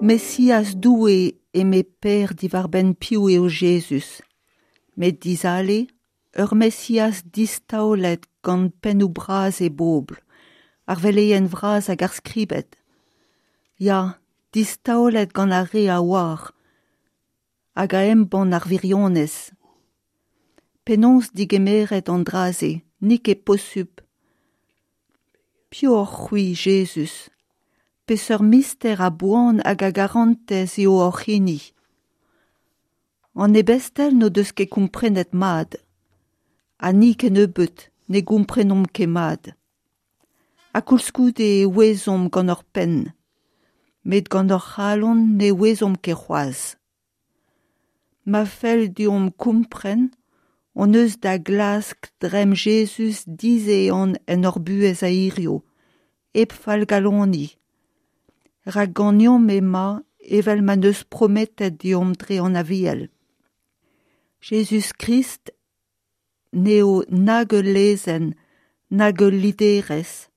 Mesiaz Doue eme Per diwar-benn piv eo Jezuz. Met dizale, ur Mesiaz distaolet gant pennoù bras e bobl, ar veleien vras hag ar skribed. Ya, distaolet gant ar re a oar hag a embann ar wirionez. Penaos digemeret an dra-se, n'eo ket posupl. Piv oc'h-c'hwi, Jezuz ? Peseurt mister a boan hag a garantez eo hoc'h hini ? An ebestel n'o deus ket komprenet mat, ha ni kennebeut ne gomprenomp ket mat. Ha koulskoude e ouezomp gant hor penn, met gant hor c'halon ne ouezomp ket c'hoazh. Ma fell deomp kompren hon eus da glask dremm Jezuz dizehan en hor buhez a hiziv, hep fallgaloniñ. Rak ganeomp emañ evel ma 'neus prometet deomp dre an Aviel. Jezuz-Krist n'eo nag ul lezenn nag ul liderezh,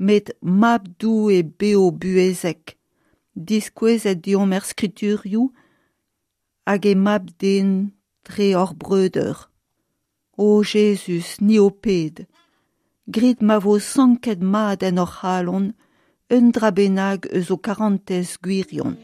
met Mab Doue bev-buhezek, diskouezet deomp er skriturioù hag e Mab-Den dre hor breudeur. O Jezuz, ni ho ped, grit ma vo sanket mat en hor c'halon un dra bennak eus ho karantez gwirion.